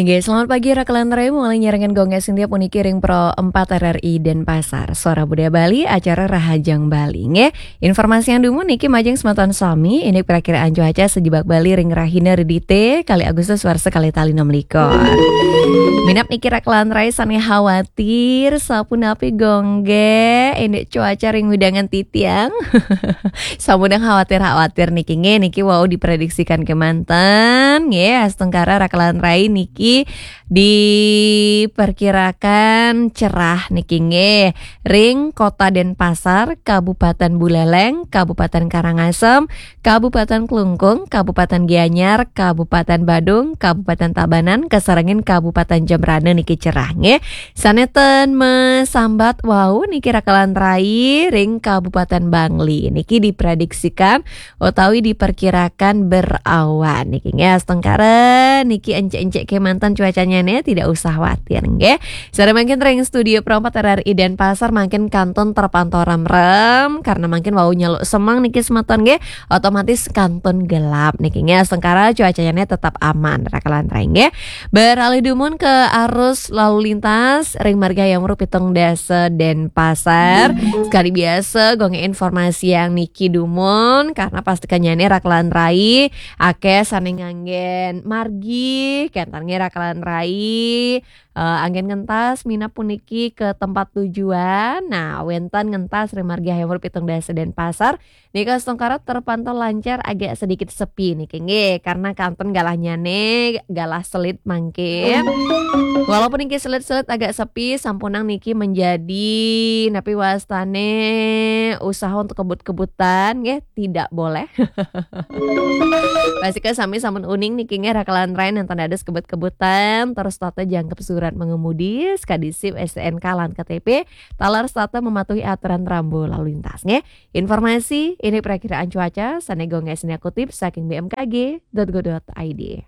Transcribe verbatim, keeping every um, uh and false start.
Nggih, selamat pagi, Rakelan Rai, mulai nyarengan Gong Sintia puniki ring Pro empat R R I Denpasar. Suara Budaya Bali, acara Rahajeng Bali. Nggih, informasi yang dumun niki majeng semeton sami, ini perakiraan cuaca sejebak Bali ring rahina Redite, kali Agustus warsa kali tali enam likur. Minab niki Rakelan Rai sane khawatir, sapunapi Gong nggih, indik cuaca ring wewidangan titiang. Sampun khawatir-khawatir niki nggih, niki wau diprediksikan kemanten nggih, astungkara Rakelan Rai niki diperkirakan cerah niki nggih. Ring Kota Denpasar, Kabupaten Buleleng, Kabupaten Karangasem, Kabupaten Klungkung, Kabupaten Gianyar, Kabupaten Badung, Kabupaten Tabanan, kasarengin Kabupaten Jembrana niki cerah nggih. Sane ten masambat wau niki Rakelan Rai ring Kabupaten Bangli niki diprediksikan utawi diperkirakan berawan niki nggih, astungkara niki encek-encek kemanten cuacanya nih, tidak usah khawatir nggih. Sare mangkin ring studio Pro empat R R I Denpasar mangkin kantun terpantau remrem karena mangkin wau nyeluk semeng niki semeton nggih, otomatis kantun gelap niki nggih, astungkara cuacanya nih tetap aman Rakelan Rai nggih. Beralih dumun ke arus lalu lintas ring Marga Hayam Wuruk pitung dasa Denpasar. Sekali biasa Gong informasi yang niki dumun karena pastikannya nih Rakelan Rai akeh sane nganggen margi, kenten nggih Rakelan Rai, eh, anggen ngentas minab puniki ke tempat tujuan. Nah, wenten ngentas ring Marga Hayam Wuruk pitung dasa Denpasar. Nika astungkara terpantau lancar, agak sedikit sepi niki nggih, karena kantun galahnya nih, galah selit mangkin. Walaupun niki selit-selit agak sepi, sampunang niki menjadi napi wastane usaha untuk kebut-kebutan nggih, tidak boleh. Pastika sami sampun uning niki nggih Rakelan Rai nenten dados kebut-kebutan, terus tata jangkep surat mengemudi, sekadi SIM, S T N K lan K T P, taler setata mematuhi aturan rambu lalu lintas nggih. Informasi ini perakiraan cuaca sane Gong Sintia kutip saking B M K G dot go dot I D.